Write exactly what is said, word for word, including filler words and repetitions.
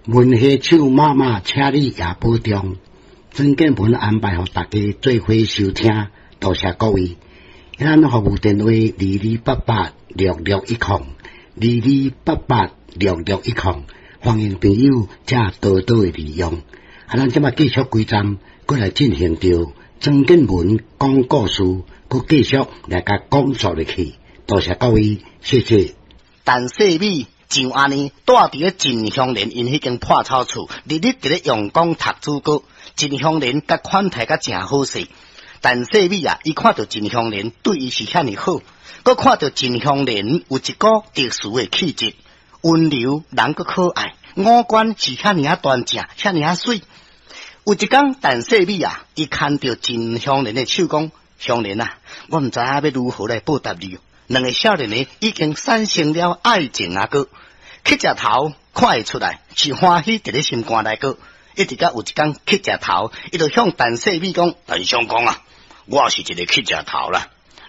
文夏手媽媽，請你也保重。曾建文安排予大家做伙收聽，多謝各位。咱服務電話二二八八六六一空，二二八八六六一空，歡迎朋友遮多多的利用。啊，咱這馬繼續歸站，閣來進行著曾建文講故事，閣繼續來共講述落去。多謝各位，謝謝。陳世美就按呢，蹛佇咧秦香蓮𪜶彼間破草厝，日日佇咧用功讀書閣。秦香蓮共款待甲誠好勢。陳世美啊，伊看著秦香蓮對伊是遐爾好，閣看著秦香蓮有一股特殊的氣質，溫柔人閣可愛，五官是遐爾仔端正，遐爾仔媠。有一工，陳世美啊，伊牽著秦香蓮的手講：香蓮啊，我毋知影欲如何來報答你。兩个少年的已經產生了愛情啊！閣乞食頭看會出來是歡喜佇咧心肝內閣，一直到有一工乞食頭，伊就向陳世美講：陳相公啊，我是一个乞食頭啦。